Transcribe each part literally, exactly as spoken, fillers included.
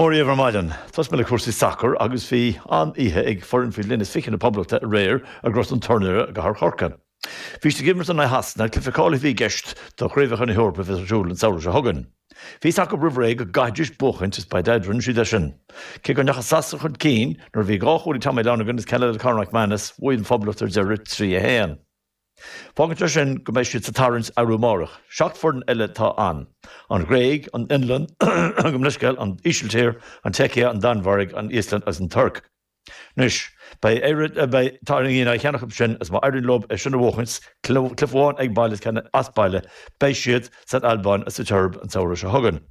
Mora dhaoibh ar maidin. Tosóidh mé le cúrsaí sacair agus bhí an-oíche ag foireann faoi bhliain is fiche na Poblachta aréir i nGort an Tornaire i gCathair Chorcaí. Bhí siad ag imirt in aghaidh Shasana, cluiche cáilithe a bhí i gceist do Chraobhacha na hEorpa a bheas ar siúl an samhradh seo chugainn. Bhí a fhios acu roimh ré go gcaithfidís buachaint is ba é a rinne siad é sin. Cé go ndeachaigh Sasana chun cinn nuair a bhí dhá chúl ag Tommy Lonergan is ceann eile ag Conor McManus, bhuaigh an Phoblacht ar deireadh trí a haon. Fágann sé sin go mbeidh siad sa tarraingt arú amárach. Seacht foireann eile atá ann, an Ghréig, an Fhionlainn, gabh mo leithscéal, an Ísiltír, an tSeicia, an Danmhairg, an Íoslainn agus an Tuirc. Anois, beidh Éire, beidh tarraingthe in aghaidh ceann acu sin agus má éiríonn leo é sin a bhuachaint, cluiche amháin ag baile is ceann as baile, beidh siad san Albáin agus sa tSeirbia an samhradh seo chugainn.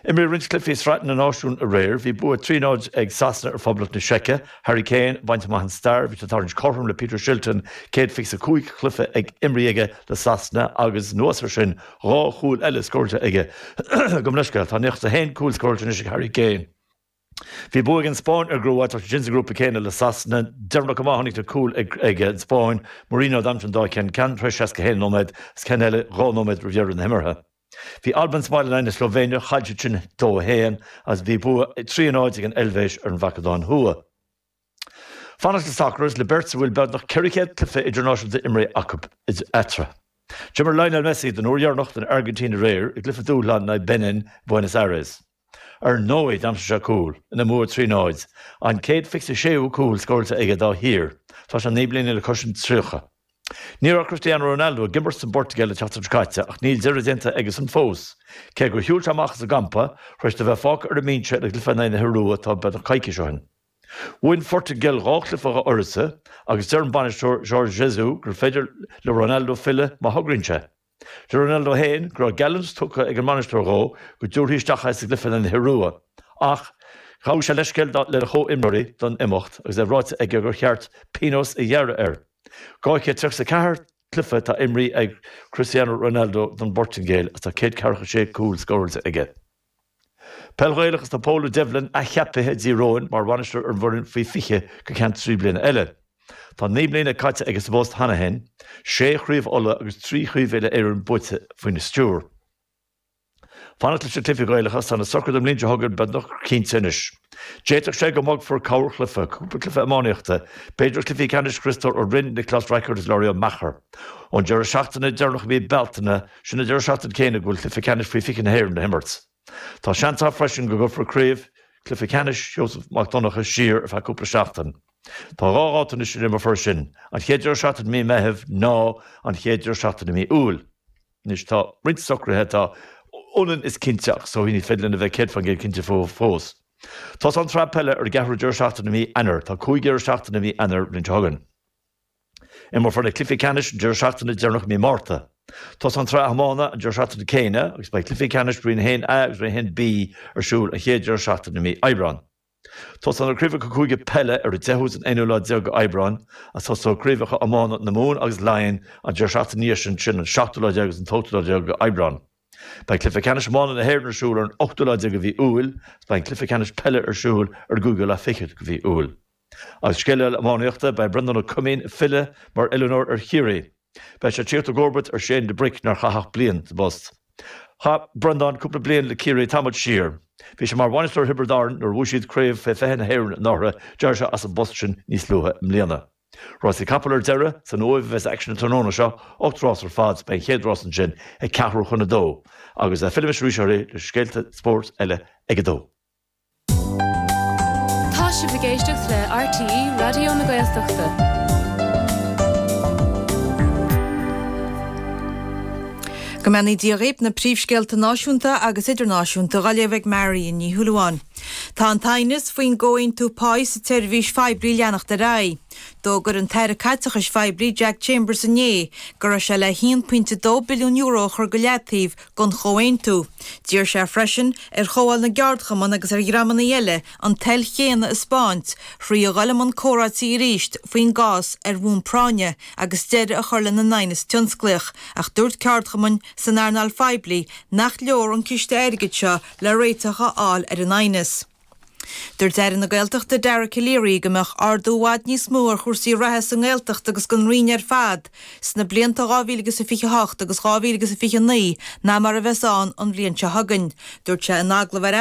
Imríodh roinnt cluichí Sraith na Náisiún aréir. Bhí bua trí náid ag Sasana ar Phoblacht na Seice. Harry Kane ag baint amach an stair. Bhí sé ag tarraingt cothrom le Peter Shilton, céad fiche a cúig chluiche ag imrithe aige le Sasana agus anuas air sin dhá chúl eile scóráilte aige. Gabh mo leithscéal, tá nócha is a haon cúl scóráilte anois ag Harry Kane. Bhí bua ag an Spáinn ar an gCróit, tá siad sin sa ngrúpa céanna le Sasana. Deireanach go maith tháinig na cúil ag an Spáinn. Merino a d'aimsigh an dá cheann, ceann tar éis seasca a haon nóiméad agus ceann eile dhá nóiméad roimh dheireadh na himeartha. Bhí Albain sa mbaile in aghaidh na Slóivéine, chaill siad sin dó a haon agus bhí bua trí a náid ag an Eilvéis ar an Mhacadóin Thuaidh. Fanacht le sacar agus le beirt a bhfuil beagnach ceithre chéad cluiche idirnáisiúnta imrithe acu eatarthu. D'imir Lionel Messi don uair dheireanach don Airgintín aréir i gcluiche dúshláin in aghaidh Benin i Buenos Aires. Ar ndóigh, d'aimsigh sé cúl, ina mbua trí náid, an céad fiche is a séú cúl scóráilte aige dá thír. Tá sé naoi mbliana le cois an tríocha. Ní raibh Cristiano Ronaldo ag imirt don bPortaingéil an tseachtain seo caite ach níl deireadh déanta aigesan fós. Cé gur shiúil sé amach as an gcampa tar éis dó bheith fágtha ar an mbinse ina gcluiche in aghaidh na hIorua atá beagnach coicís ó shin. Bhuaigh an Phortaingéil dhá chluiche dá uireasa agus deir an bainisteoir Jorge Jesus gur féidir le Ronaldo filleadh má thograíonn sé. Deir Ronaldo féin go raibh geallúint tugtha ag an mbainisteoir dhó go dtabharfaí isteach é sa gcluiche in aghaidh na hIorua ach ghabh sé leithscéal lena chomhimreoirí don imeacht agus é ráite aige gur cheart pionós a ghearradh air. dhá chéad tríocha is a ceathair cluiche atá imrithe ag Cristiano Ronaldo don bPortaingéil agus tá céad ceathracha sé cúl scóráilte aige. Peil Ghaelach agus tá Pól Devlin athcheaptha ag Tír Eoghain mar bhainisteoir ar an bhfoireann faoi fiche go ceann trí bliana eile. Tá naoi mbliana caite aige sa bpost cheana féin, sé chraobh Uladh agus trí chraobh uile-Éireann buaite faoina stiúir. Fanacht leis na cluichí Gaelacha, tá na socruithe don mbliain seo chugainn beagnach cinnte anois. D'fhéadfadh sé go mbogfar corrchluiche, cúpla cluiche iománaíochta, b'fhéidir cluichí ceannais Chriostóir Ó Rinn, Nioclás Rackard agus Laurie Ó Meachair. Ón deireadh seachtaine deireanach i mí Bealtaine, sin an deireadh seachtaine céanna go bhfuil cluiche ceannais faoi fiche na hÉireann le himirt. Tá seans ann freisin go gcuirfear craobh chluiche ceannais Sheosamh Mac Donncha siar ar feadh cúpla seachtain. Tá dhá dháta anois a n-imreofar sin, an chéad deireadh seachtaine i mí Meithimh ná an chéad deireadh seachtaine i mí Iúil. Anois tá roinnt socruithe atá ionann is cinnte ach is dóigh ní féidir linn a bheith céad faoin gcéad cinnte fúthu fós. Tosaíonn an tsraith peile ar an gceathrú deireadh seachtaine i mí Eanáir. Tá cúig dheireadh seachtaine i mí Eanáir an bhliain seo chugainn. Imreofar na cluichí ceannais an deireadh seachtaine deireanach i mí Márta. Tosaíonn an tsraith iomána an deireadh seachtaine céanna agus beidh cluichí ceannais Roinn a haon A agus Roinn a haon B ar siúl an chéad deireadh seachtaine i mí Aibreáin. Tosaíonn na craobhacha cúige peile ar an deichiú is an aonú lá déag d'Aibreán agus tosóidh craobhacha iomána na Mumhan agus Laighean an deireadh seachtaine ina dhiaidh sin, sin an seachtú lá déag agus an t-ochtú lá déag d'Aibreán. Beidh cluiche ceannais iomána na hÉireann ar siúl ar an ochtú lá déag de mhí Iúil agus beidh an cluiche ceannais peile ar siúl ar an gcúigiú lá fichead de mhí Iúil. Agus scéal eile iománaíochta, beidh Breandán Ó Coimín ag filleadh mar oiliúnóir ar Chiarraí. Beidh sé ag tíocht i gcomharbacht ar Shane de Bric nár chaith ach bliain sa bpost. Chaith Breandán cúpla bliain le Ciarraí tamall siar. Bhí sé mar bhainisteoir Thiobraid Árann nuair a bhuaigh siad Craobh fé fiche na hÉireann anuraidh, d'éirigh sé as an bpost sin níos luaithe i mbliana. Rásaí capall ar deireadh, san Uaimh a bheas aicsean an tráthnóna seo, ocht rás ar fad, beidh an chéad rás ansin ag ceathrú chun a dó. Agus fillfimis arís oraibh le scéalta spóirt eile ag a dó. Tá sibh ag éisteacht le RTÉ Raidió na Gaeltachta. Go mbeannaí Dia dhaoibh, na príomhscéalta náisiúnta agus idirnáisiúnta á léamh ag Marion Ní Shúilleabháin. Tá an t-aighneas faoin gcomhaontú páí sa tseirbhís phoiblí ag leanacht ar aghaidh. D'fhógair an tAire Caiteachais Phoiblí Jack Chambers inné go raibh sé le haon pointe dó billiún euro a chur go leataobh don chomhaontú. D'iarr sé freisin ar Chomhdháil na gCeardchumann agus ar dhreamanna eile an toil chéanna a 'spáint thrí a dhul i mbun comhráití arís faoin gcás ar bhonn práinne agus deireadh a chur lena n-aighneas tionsclaíoch ach dúirt ceardchumainn san earnáil phoiblí nach leor an ciste airgid seo le réiteach a fháil ar an aighneas. Dúirt Aire na Gaeltachta Dara Calleary go mbeadh ardú i bhfad níos mó ar chúrsaí reatha sa nGaeltacht agus don Roinn ar fad sna blianta dhá mhíle agus a fiche a hocht agus dhá mhíle agus a fiche a naoi ná mar a bheas ann an bhliain seo chugainn. Dúirt sé in agallamh ar